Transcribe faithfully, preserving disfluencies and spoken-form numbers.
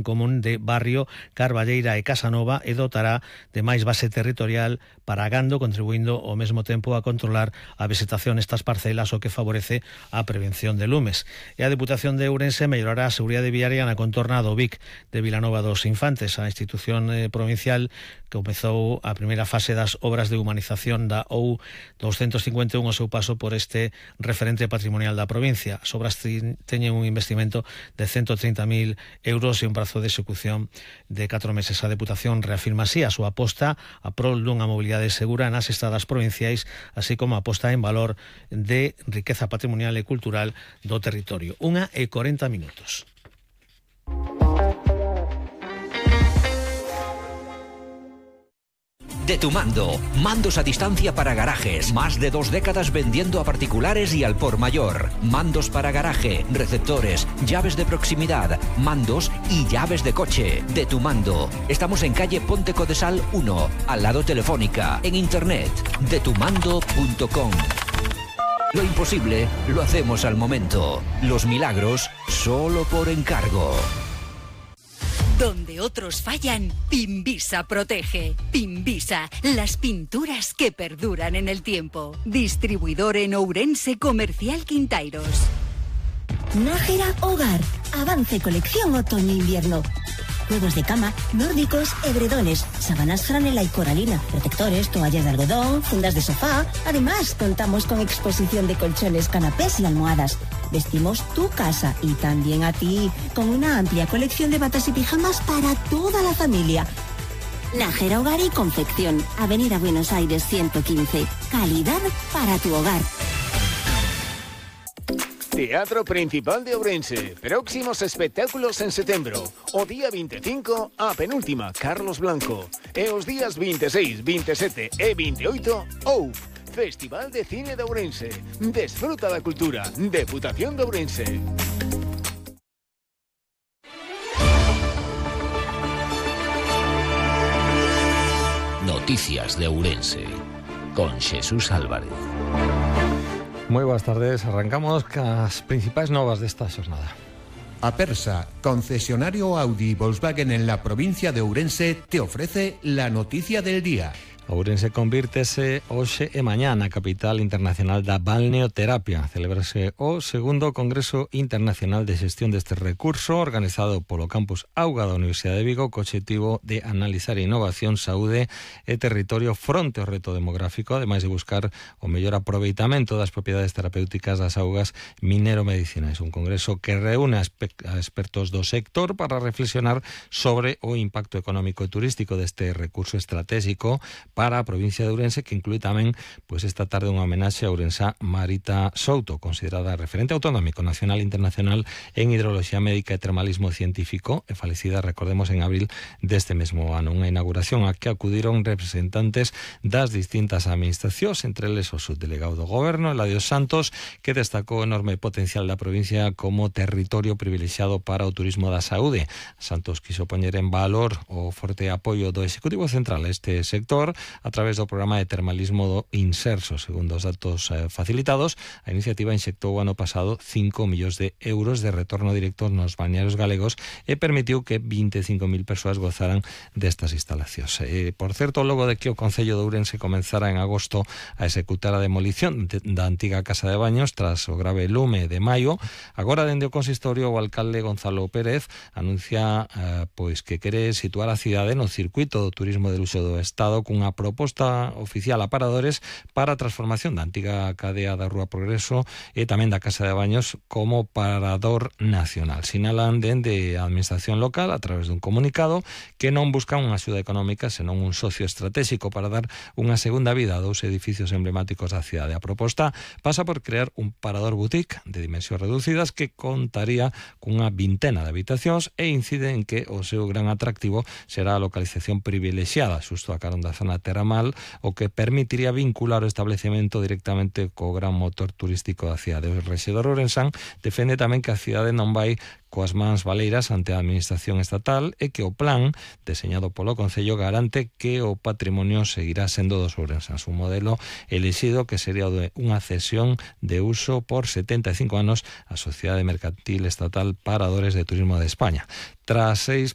común de Barrio, Carballeira e Casanova e dotará de máis base territorial para gando, contribuindo ao mesmo tempo a controlar a vegetación nestas parcelas, o que favorece a prevención de lumes. E a Deputación de Ourense mellorará a seguridade viaria na contorna do Vic de Vilanova dos Infantes. A institución eh, provincial comezou a primeira fase das obras de humanización da O U doscientos cincuenta e un ao seu paso por este referente patrimonial da provincia. As obras teñen un investimento de ciento trinta mil euros e un prazo de execución de catro meses. A Deputación reafirma así a súa aposta a prol dunha mobilidade segura nas estradas provinciais, así como a aposta en valor de riqueza patrimonial e cultural do territorio. Unha e corenta minutos. De Tu Mando, mandos a distancia para garajes, más de dos décadas vendiendo a particulares y al por mayor. Mandos para garaje, receptores, llaves de proximidad, mandos y llaves de coche. De Tu Mando. Estamos en calle Ponte Codesal uno, al lado Telefónica, en internet, de tu mando punto com. Lo imposible lo hacemos al momento. Los milagros solo por encargo. Donde otros fallan, Pinvisa protege. Pinvisa, las pinturas que perduran en el tiempo. Distribuidor en Ourense, Comercial Quintairos. Nájera Hogar. Avance colección otoño-invierno. Juegos de cama, nórdicos, edredones, sábanas franela y coralina, protectores, toallas de algodón, fundas de sofá. Además, contamos con exposición de colchones, canapés y almohadas. Vestimos tu casa y también a ti, con una amplia colección de batas y pijamas para toda la familia. Nájera Hogar y Confección, Avenida Buenos Aires ciento quince. Calidad para tu hogar. Teatro Principal de Ourense. Próximos espectáculos en setembro. O día veinticinco, a penúltima, Carlos Blanco. E os días veintiséis, veintisiete e veintiocho, O U F, Festival de Cine de Ourense. Desfruta da cultura. Deputación de Ourense. Noticias de Ourense, con Jesús Álvarez. Moi boas tardes, arrancamos cas principais novas desta xornada. Apersa, concesionario Audi y Volkswagen en la provincia de Ourense, te ofrece la noticia del día. Ourense convírtese hoxe e mañá na capital internacional da balneoterapia. Celebrase o segundo Congreso Internacional de Xestión deste recurso, organizado polo Campus Auga da Universidade de Vigo, co obxectivo de analizar innovación, saúde e territorio fronte ao reto demográfico, ademais de buscar o mellor aproveitamento das propiedades terapéuticas das augas minero-medicinais. Un congreso que reúne a expertos do sector para reflexionar sobre o impacto económico e turístico deste recurso estratégico para a provincia de Ourense, que inclúe tamén pois esta tarde unha homenaxe a ourensá Marita Souto, considerada referente autonómico nacional e internacional en hidroloxía médica e termalismo científico, e falecida, recordemos, en abril deste mesmo ano. Unha inauguración a que acudiron representantes das distintas administracións, entre eles o subdelegado do Goberno, Eladio Santos, que destacou o enorme potencial da provincia como territorio privilexiado para o turismo da saúde. Santos quiso poñer en valor o forte apoio do Executivo Central a este sector a través do programa de termalismo do Inserso. Segundo os datos eh, facilitados, a iniciativa inxectou o ano pasado cinco millóns de euros de retorno directo nos balnearios galegos e permitiu que vinte e cinco mil persoas gozaran destas instalacións. E, por certo, logo de que o Concello de Ourense comenzara en agosto a executar a demolición de, da antiga casa de baños tras o grave lume de maio, agora dende o consistorio o alcalde Gonzalo Pérez anuncia eh, pois que quere situar a cidade no circuito do turismo de luxo do Estado cunha proposta oficial a paradores para a transformación da antiga cadea da Rúa Progreso e tamén da Casa de Baños como parador nacional. Sinalan dende a administración local a través dun comunicado que non buscan unha axuda económica, senón un socio estratégico para dar unha segunda vida a dous edificios emblemáticos da cidade. A proposta pasa por crear un parador boutique de dimensións reducidas que contaría cunha vintena de habitacións e incide en que o seu gran atractivo será a localización privilexiada xusto a carón da zona terramal, o que permitiría vincular o establecemento directamente co gran motor turístico da cidade. O rexedor ourensán defende tamén que a cidade non vai coas mans baleiras ante a administración estatal e que o plan deseñado polo Concello garante que o patrimonio seguirá sendo dos ourensáns. Un modelo elixido que sería o de unha cesión de uso por setenta e cinco anos a Sociedade Mercantil Estatal Paradores de Turismo de España. Tras seis